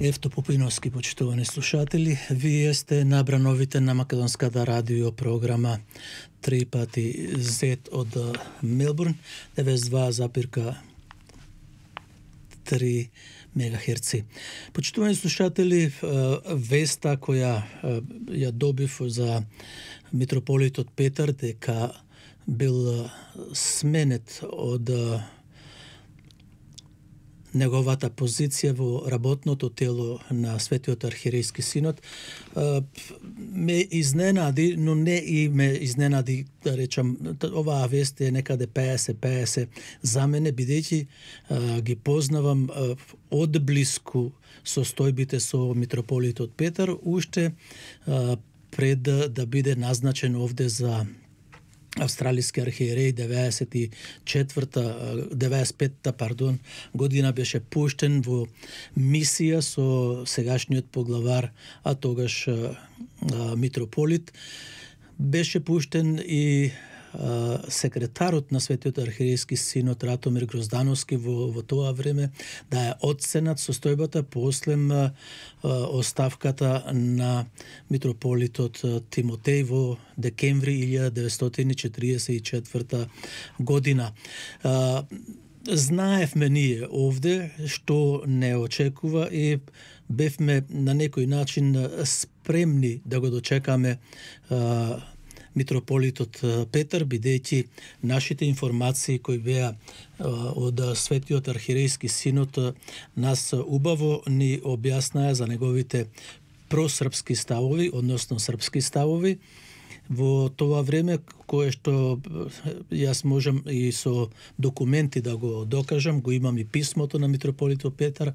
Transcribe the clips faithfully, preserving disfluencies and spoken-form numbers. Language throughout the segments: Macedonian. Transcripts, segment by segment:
Евто Попиновски, почитувани слушатели, вие сте на брановите на македонската радио програма три пати Z од Мелбурн, деветдесет и два запирка три мегахерци. Почитувани слушатели, веста која ја добив за митрополитот Петар дека бил сменет од неговата позиција во работното тело на Светиот архиерејски синод ме изненади, но не и ме изненади, да речам, оваа вест е некаде пеесет пеесет за мене, бидејќи ги познавам одблиску состојбите со митрополитот Петар, уште пред да биде назначен овде за австралиски архиереј деветдесет и четврта, деветдесет и петта, пардон, година беше пуштен во мисија со сегашниот поглавар, а тогаш а, митрополит. Беше пуштен и а, секретарот на Светиот архиерејски синод Ратомир Гроздановски во, во тоа време да е оценат состојбата после а, оставката на митрополитот Тимотеј во декември илјада деветстотини четиридесет и четврта година. А, знаевме ние овде што не очекува и бевме на некој начин спремни да го дочекаме а, митрополитот Петар, бидејќи нашите информации кои беа од Светиот архиерејски синод нас убаво ни објаснаа за неговите просрпски ставови, односно српски ставови, во тоа време кое што јас можам и со документи да го докажам, го имам и писмото на митрополитот Петар,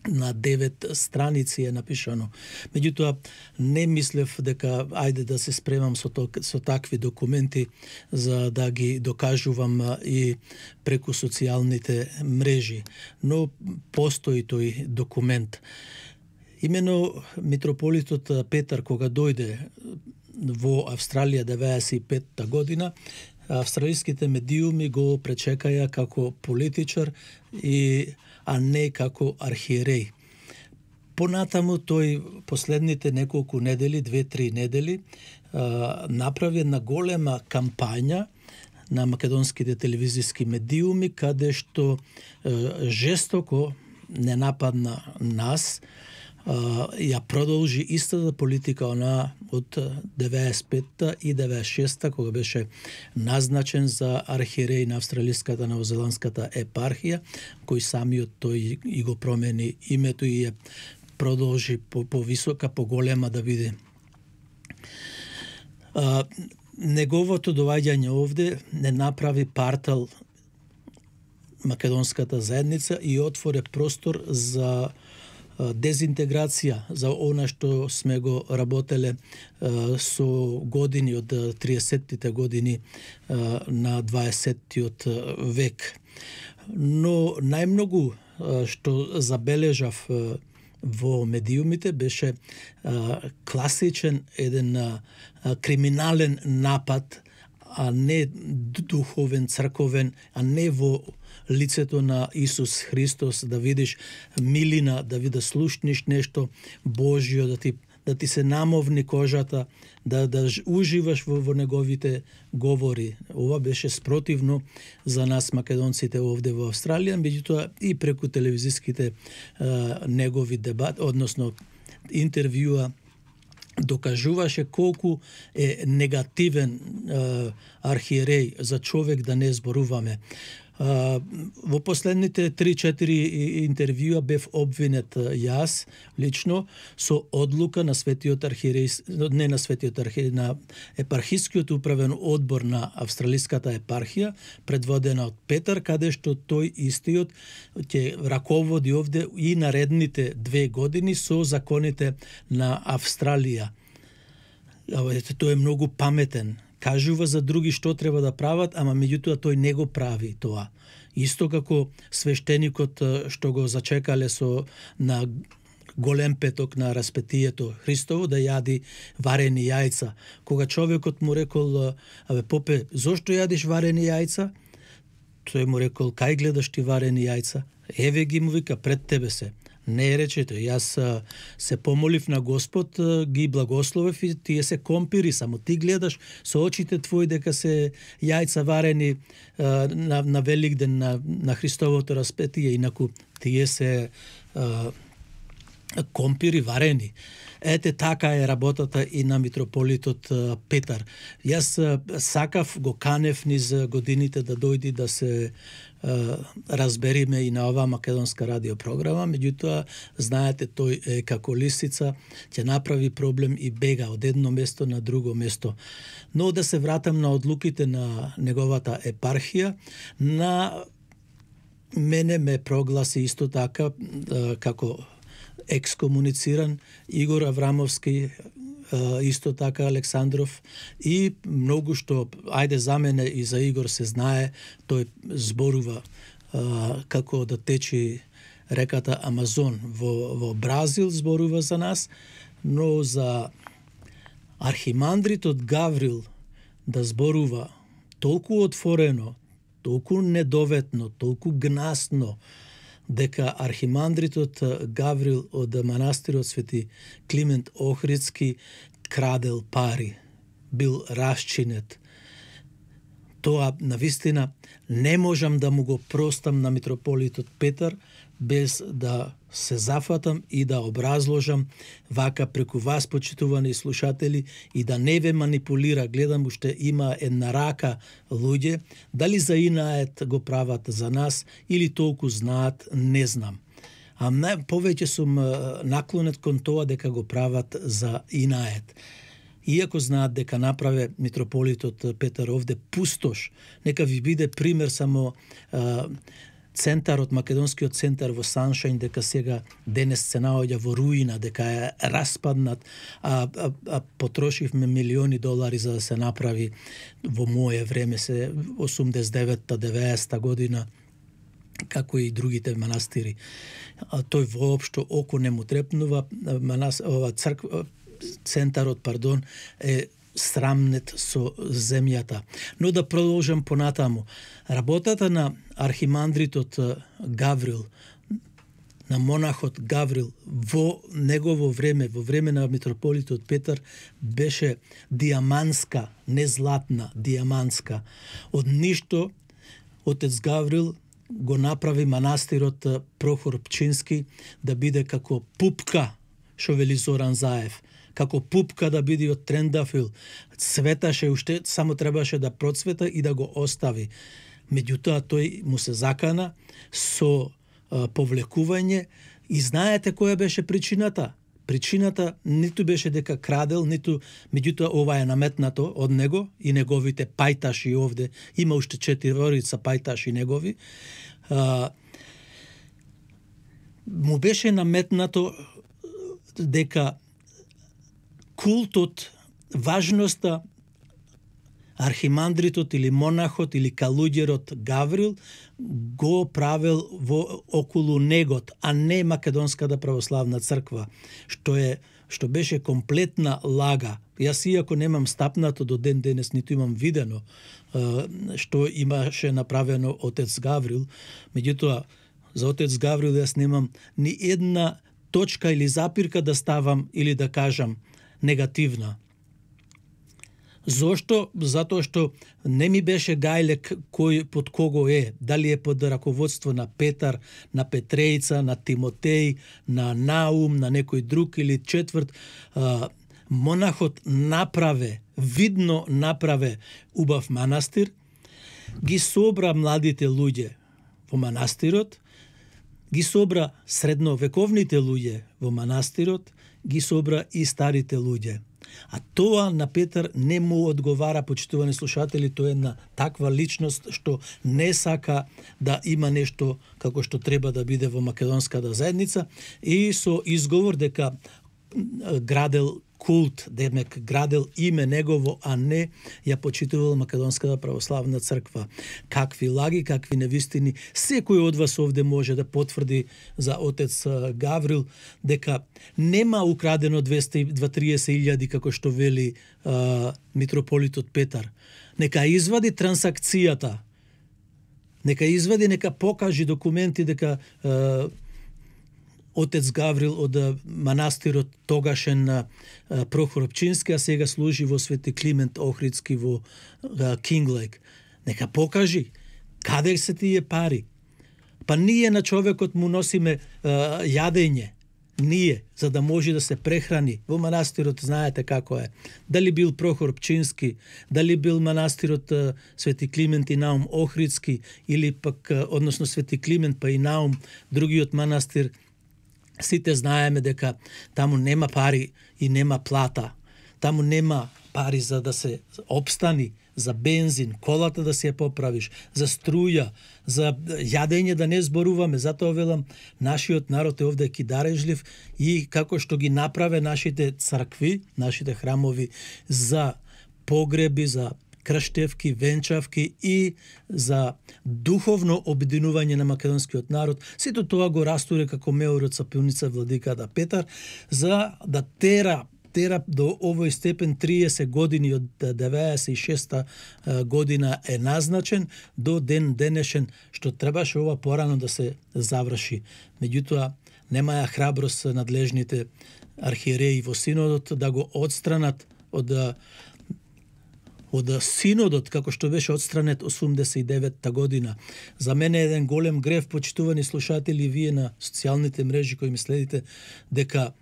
на девет страници е напишано. Меѓутоа, не мислев дека ајде да се спремам со, то, со такви документи за да ги докажувам и преку социјалните мрежи. Но постои тој документ. Имено митрополитот Петар, кога дојде во Австралија деветдесет и петта година, австралиските медиуми го пречекаја како политичар и а не како архиереј. Понатаму тој последните неколку недели, две-три недели, направи една голема кампања на македонските телевизиски медиуми, каде што жестоко не нападна нас, ја продолжи истата политика она од деветдесет и петта и деветдесет и шеста, кога беше назначен за архиереј на австралиската новозеландската епархија, кој самиот тој и го промени името и ја продолжи по, по висока, по голема да биде. А, неговото доаѓање овде не направи партал македонската заедница и отворе простор за дезинтеграција, за она што сме го работеле со години од триесеттите години на дваесеттиот век. Но најмногу што забележав во медиумите беше класичен еден криминален напад, а не духовен, црковен, а не во лицето на Исус Христос, да видиш милина, да ви да слушниш нешто Божјо, да ти да ти се намовни кожата, да да уживаш во, во неговите говори. Ова беше спротивно за нас македонците овде во Австралија, меѓутоа и преку телевизиските а, негови дебат, односно интервјуа, докажуваше колку е негативен а, архиереј за човек, да не зборуваме. Uh, во последните три-четири интервјуа бев обвинет јас лично со одлука на Светиот архиереј, не на Светиот архиереј, на епархискиот управен одбор на австралиската епархија, предводена од Петар, каде што тој истиот ќе раководи овде и наредните две години со законите на Австралија. Тој е многу паметен. Кажува за други што треба да прават, ама меѓутоа тој не го прави тоа. Исто како свештеникот што го зачекале со на голем петок на распетието Христово да јади варени јајца. Кога човекот му рекол: "Абе попе, зошто јадиш варени јајца?" Тој му рекол: "Кај гледаш ти варени јајца? Еве ги, му вика, пред тебе се." Не речете, јас се помолив на Господ, ги благословив и тие се компири, само ти гледаш со очите твои дека се јајца варени на, на Великден, на, на Христовото распетие, инаку тие се а, компири варени. Ете така е работата и на митрополитот Петар. Јас сакав, го канев низ годините да дојди да се Uh, разбериме и на оваа македонска радиопрограма, меѓутоа, знаете, тој е како лисица, ќе направи проблем и бега од едно место на друго место. Но да се вратам на одлуките на неговата епархија, на мене ме прогласи исто така uh, како екскомунициран Игор Аврамовски, исто така Александров, и многу што, ајде за мене и за Игор се знае, тој зборува а, како да течи реката Амазон во, во Бразил, зборува за нас, но за архимандритот Гаврил да зборува толку отворено, толку недоветно, толку гнасно, дека архимандритот Гаврил од манастирот Свети Климент Охридски крадел пари, бил расчинет. Тоа навистина не можам да му го простам на митрополитот Петар без да се зафатам и да образложам вака преку вас, почитувани слушатели, и да не ве манипулира. Гледам, уште има една рака луѓе, дали за инает го прават за нас или толку знаат, не знам. А не, повеќе сум наклонет кон тоа дека го прават за инает. Иако знаат дека направе митрополитот Петар овде пустош, нека ви биде пример само а, центарот, македонскиот центар во Саншајн, дека сега денес се наоѓа во руина, дека е распаднат, а, а, а потрошивме милиони долари за да се направи во моје време, се осумдесет и девета деветдесета година, како и другите манастири. А тој воопшто око не му трепнува, манас, ова црква, центарот, пардон, е срамнет со земјата. Но да продолжам понатаму. Работата на архимандритот Гаврил, на монахот Гаврил во негово време, во време на митрополитот Петар, беше диаманска, не златна, диаманска. Од ништо отец Гаврил го направи манастирот Прохор Пчински да биде како пупка, шо вели Зоран Заев, како пупка да биде од трендафил. Цветаше уште, само требаше да процвета и да го остави. Меѓутоа тој му се закана со а, повлекување, и знаете која беше причината? Причината ниту беше дека крадел, ниту, меѓутоа ова е наметнато од него и неговите пајташи овде, има уште четирица пајташи негови, а, му беше наметнато дека култот, важноста, архимандритот или монахот или калуѓерот Гаврил го правел во околу негот, а не Македонската православна црква, што е што беше комплетна лага. Јас иако немам стапнато до ден денес, ниту имам видено што имаше направено отец Гаврил, меѓутоа за отец Гаврил јас немам ни една точка или запирка да ставам или да кажам негативна. Зошто? Затоа што не ми беше гајлек кој под кого е, дали е под раководство на Петар, на Петрејца, на Тимотеј, на Наум, на некој друг или четврт. А, монахот направе, видно направе убав манастир, ги собра младите луѓе во манастирот, ги собра средновековните луѓе во манастирот, ги собра и старите луѓе. А тоа на Петар не му одговара, почитувани слушатели, тоа е една таква личност што не сака да има нешто како што треба да биде во македонската заедница, и со изговор дека градел култ, демек градел име негово, а не ја почитувал Македонската православна црква. Какви лаги, какви невистини, секој од вас овде може да потврди за отец Гаврил дека нема украдено двеста и триесет илјади како што вели а, митрополитот Петар. Нека извади трансакцијата, нека извади, нека покажи документи дека а, отец Гаврил од манастирот тогашен на Прохор Пчински, а сега служи во Свети Климент Охридски во Кинглейк. Нека покажи каде се тие пари. Па ние на човекот му носиме а, јадење. Ние, за да може да се прехрани. Во манастирот знаете како е. Дали бил Прохор Пчински, дали бил манастирот а, Свети Климент и Наум Охридски, или пак, а, односно Свети Климент па и Наум, другиот манастир, сите знаеме дека таму нема пари и нема плата. Таму нема пари за да се обстани, за бензин, колата да се ја поправиш, за струја, за јадење да не зборуваме. Затоа велам, нашиот народ е овде кидарежлив и како што ги направе нашите цркви, нашите храмови за погреби, за крштевки, венчавки и за духовно обединување на македонскиот народ. Сето тоа го растуре како меор од сапилница владиката Петар, за да тера тера до овој степен триесет години од деветдесет и шеста година е назначен до ден денешен, што требаше ова порано да се заврши. Меѓутоа, немаја храброст надлежните архиереи во синодот да го отстранат од од синодот, како што беше отстранет осумдесет и деветта година. За мене е еден голем грев, почитувани слушатели, вие на социјалните мрежи кои ме следите, дека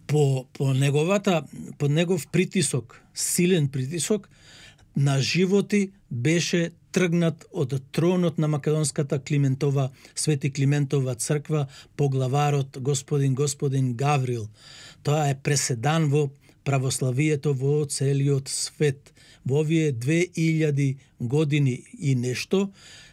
по, по неговата, по негов притисок, силен притисок, на животи беше тргнат од тронот на македонската Климентова, Свети Климентова црква, поглаварот господин господин Гаврил. Тоа е преседан во православието во целиот свет. Во овие две илјади години и нешто,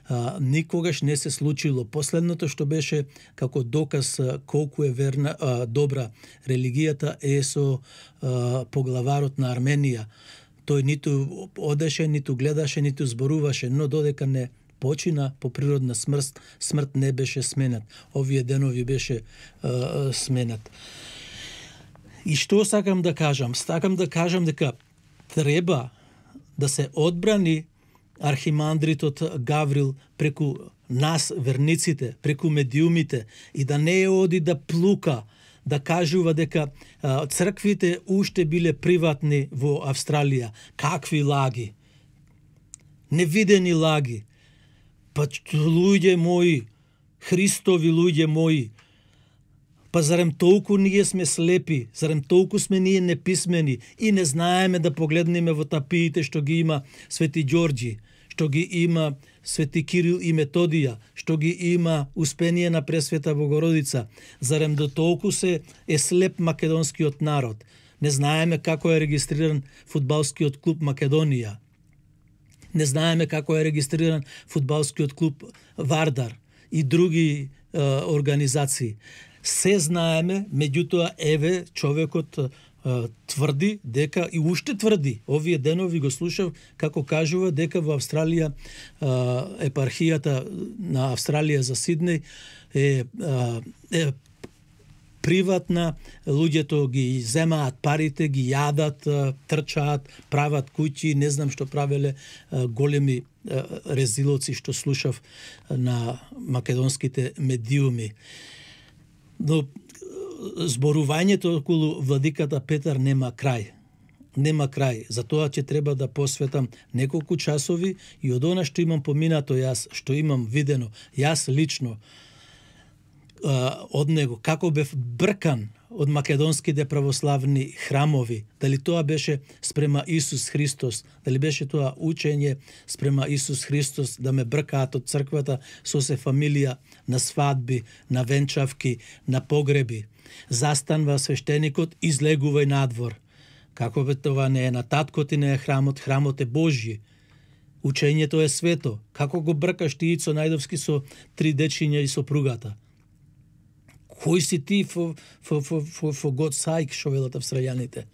а, никогаш не се случило. Последното што беше како доказ а, колку е верна, а, добра религијата е со а, поглаварот на Арменија. Тој ниту одеше, ниту гледаше, ниту зборуваше, но додека не почина по природна смрт, смрт не беше сменат. Овие денови беше а, сменат. И што сакам да кажам? Сакам да кажам дека треба да се одбрани архимандритот Гаврил преку нас, верниците, преку медиумите, и да не оди да плука, да кажува дека а, црквите уште биле приватни во Австралија. Какви лаги? Невидени лаги. Па луѓе мои, Христови луѓе мои, па зарем толку ние сме слепи, зарем толку сме ние неписмени и не знаеме да погледнеме во тапиите што ги има Свети Ѓорѓи, што ги има Свети Кирил и Методија, што ги има Успение на Пресвета Богородица. Зарем до толку се е слеп македонскиот народ. Не знаеме како е регистриран фудбалскиот клуб Македонија. Не знаеме како е регистриран фудбалскиот клуб Вардар и други е, организации. Се знаеме, меѓутоа еве човекот е, тврди дека и уште тврди. Овие денови го слушав како кажува дека во Австралија е, епархијата на Австралија за Сиднеј е, е приватна, луѓето ги земаат парите, ги јадат, трчаат, прават куќи, не знам што правеле големи резилоци што слушав на македонските медиуми. Но зборувањето околу владиката Петар нема крај. Нема крај. Затоа ќе треба да посветам неколку часови и од она што имам поминато јас, што имам видено, јас лично од него, како бев бркан од македонските православни храмови, дали тоа беше спрема Исус Христос, дали беше тоа учење спрема Исус Христос, да ме бркаат од црквата со се фамилија на свадби, на венчавки, на погреби. Застанва свештеникот, излегувај надвор. Како бе това не е на таткот и не е храмот, храмот е Божји. Учењето е свето. Како го бркаш ти Ицо Најдовски со три дечиња и сопругата? Кој си ти for, for, for, for, for God's sake, шо велат австралијаните?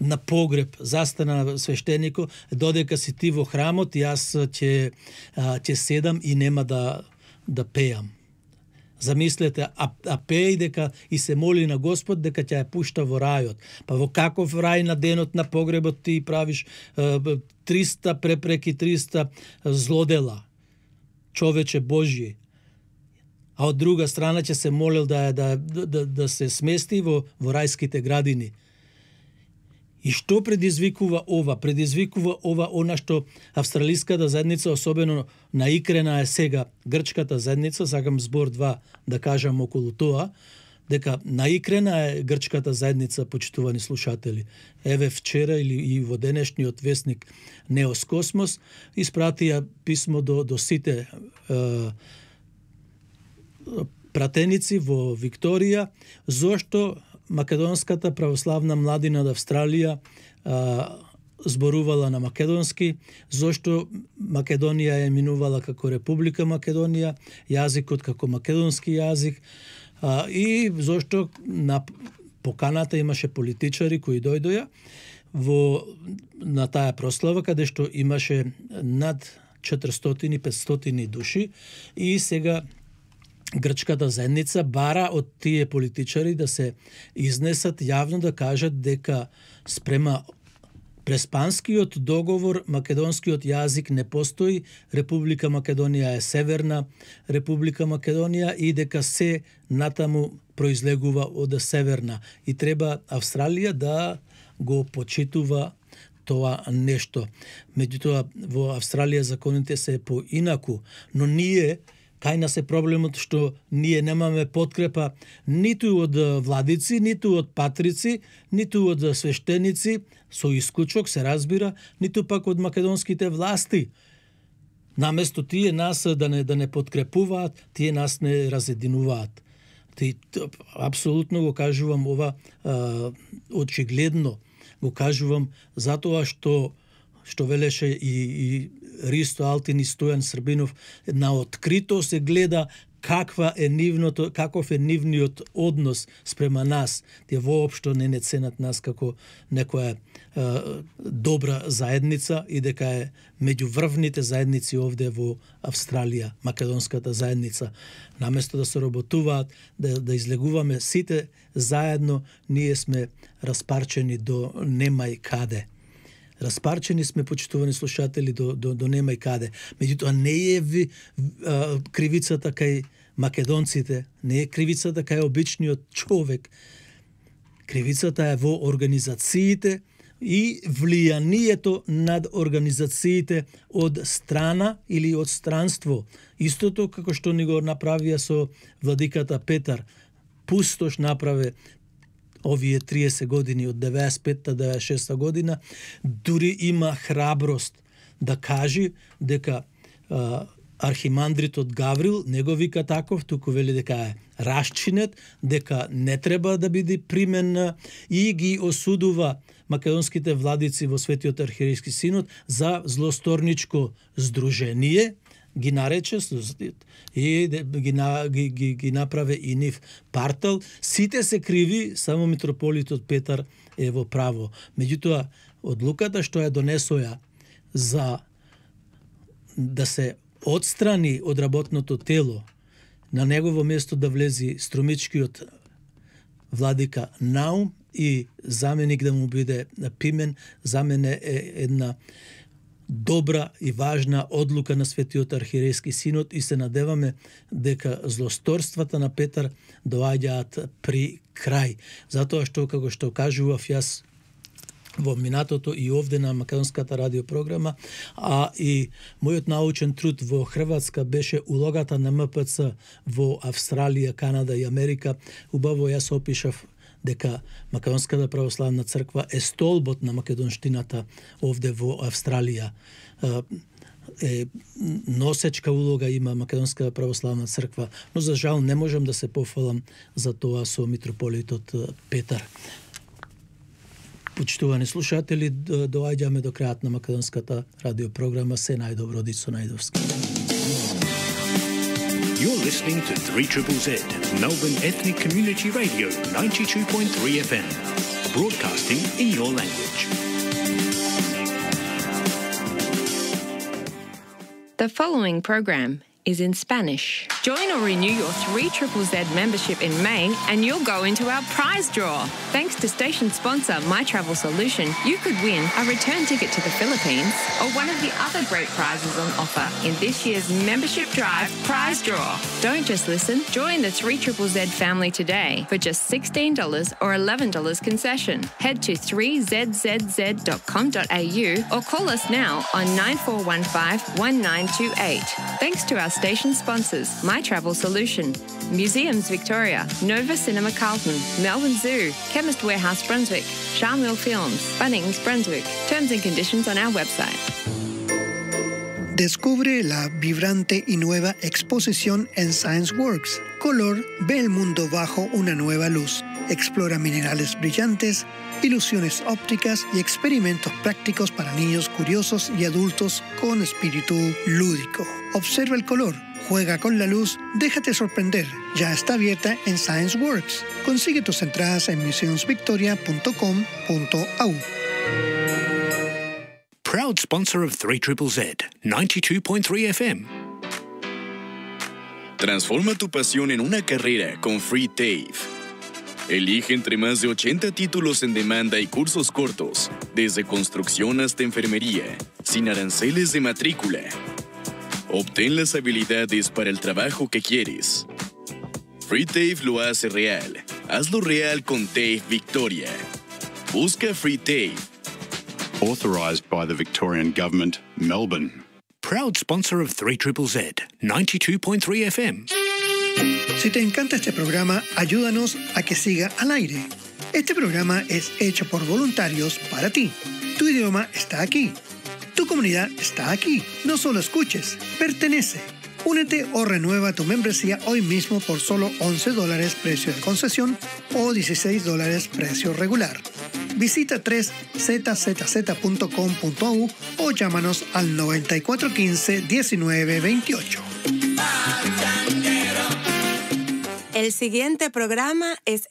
На погреб застана свештенико, додека си ти во храмот, јас ќе ќе седам и нема да да пеам. Замислете, а, а пеј дека и се моли на Господ дека ќе ја пушта во рајот. Па во каков рај на денот на погребот ти правиш триста препреки, триста злодела? Човече Божји. а од друга страна ќе се молел да да да, да се смести во во рајските градини. И што предизвикува ова? Предизвикува ова она што австралиската заедница, особено наикрена е сега грчката заедница, сакам збор два да кажам околу тоа, дека наикрена е грчката заедница, почитувани слушатели. Еве вчера или и во денешниот весник Неос Космос испратија писмо до до сите е, пратеници во Викторија, зошто македонската православна младина од Австралија а, зборувала на македонски, зошто Македонија е минувала како Република Македонија, јазикот како македонски јазик, а, и зошто на поканата имаше политичари кои дојдоја во на таа прослава, каде што имаше над четиристотини петстотини души, и сега грчката заедница бара од тие политичари да се изнесат јавно, да кажат дека спрема преспанскиот договор македонскиот јазик не постои, Република Македонија е Северна Република Македонија и дека се натаму произлегува од Северна, и треба Австралија да го почитува тоа нешто. Меѓутоа во Австралија законите се поинаку, но ние кај нас е проблемот што ние немаме подкрепа ниту од владици, ниту од патрици, ниту од свештеници, со исклучок се разбира, ниту пак од македонските власти. Наместо тие нас да не да не подкрепуваат, тие нас не разединуваат. Ти апсолутно го кажувам ова а, очигледно, го кажувам затоа што што велеше и, и Ристо Алтин и Стојан Србинов, на открито се гледа каква е нивното, каков е нивниот однос спрема нас. Тие воопшто не не ценат нас како некоја е, добра заедница и дека е меѓу врвните заедници овде во Австралија, македонската заедница. Наместо да се работуваат, да, да излегуваме сите заедно, ние сме распарчени до немај каде. Распарчени сме, почитувани слушатели, до, до, до нема и каде. Меѓутоа не е ви, а, кривицата кај македонците, не е кривицата кај обичниот човек. Кривицата е во организациите и влијанието над организациите од страна или од странство. Истото како што ни го направија со владиката Петар. Пустош направе овие триесет години, од деветдесет и петта до деветдесет и шеста година, дури има храброст да кажи дека а, архимандритот Гаврил не го вика таков, туку вели дека е расчинет, дека не треба да биде примен, и ги осудува македонските владици во Светиот архиерејски синод за злосторничко здружение, ги нарече и ги, ги, ги, ги направе и нив партал. Сите се криви, само митрополитот Петар е во право. Меѓутоа, одлуката што ја донесоја за да се отстрани од работното тело, на негово место да влези струмичкиот владика Наум и заменик да му биде Пимен, за мене е една добра и важна одлука на Светиот архиерејски синод, и се надеваме дека злосторствата на Петар доаѓаат при крај. Затоа што, како што кажував јас во минатото и овде на македонската радиопрограма, а и мојот научен труд во Хрватска беше улогата на М П Ц во Австралија, Канада и Америка. Убаво јас опишав дека Македонската православна црква е столбот на македонштината овде во Австралија. Е, носечка улога има Македонската православна црква, но за жал не можам да се пофалам за тоа со митрополитот Петар. Почитувани слушатели, доаѓаме до крајот на македонската радиопрограма. Се најдобро, Дицо Најдовски. You're listening to three Z Z, Melbourne Ethnic Community Radio, ninety-two point three F M, broadcasting in your language. The following program is in Spanish. Join or renew your three Z Z Z membership in May and you'll go into our prize draw. Thanks to station sponsor My Travel Solution, you could win a return ticket to the Philippines or one of the other great prizes on offer in this year's Membership Drive Prize Draw. Don't just listen, join the three Z Z Z family today for just sixteen dollars or eleven dollars concession. Head to three z z z dot com dot a u or call us now on nine four one five, one nine two eight. Thanks to our station sponsors, My Travel Solution, Museums Victoria, Nova Cinema Carlton, Melbourne Zoo, Chemist Warehouse Brunswick, Charmel Films, Bunnings Brunswick. Terms and conditions on our website. Descubre la vibrante y nueva exposición en ScienceWorks. Color ve el mundo bajo una nueva luz. Explora minerales brillantes, ilusiones ópticas y experimentos prácticos para niños curiosos y adultos con espíritu lúdico. Observa el color, juega con la luz, déjate sorprender. Ya está abierta en ScienceWorks. Consigue tus entradas en museums victoria punto com punto a u. Proud sponsor of three Z Z Z, ninety-two point three F M. Transforma tu pasión en una carrera con Free TAFE. Elige entre más de ochenta títulos en demanda y cursos cortos, desde construcción hasta enfermería, sin aranceles de matrícula. Obtén las habilidades para el trabajo que quieres. Free TAFE lo hace real. Hazlo real con TAFE Victoria. Busca Free TAFE. Authorised by the Victorian Government, Melbourne. Proud sponsor of three Z Z Z, ninety-two point three F M. Si te encanta este programa, ayúdanos a que siga al aire. Este programa es hecho por voluntarios para ti. Tu idioma está aquí. Tu comunidad está aquí. No solo escuches, pertenece. Únete o renueva tu membresía hoy mismo por solo once dólares precio de concesión o dieciséis dólares precio regular. Visita tres z z z punto com punto a u o llámanos al noventa y cuatro quince, diecinueve veintiocho. El siguiente programa es en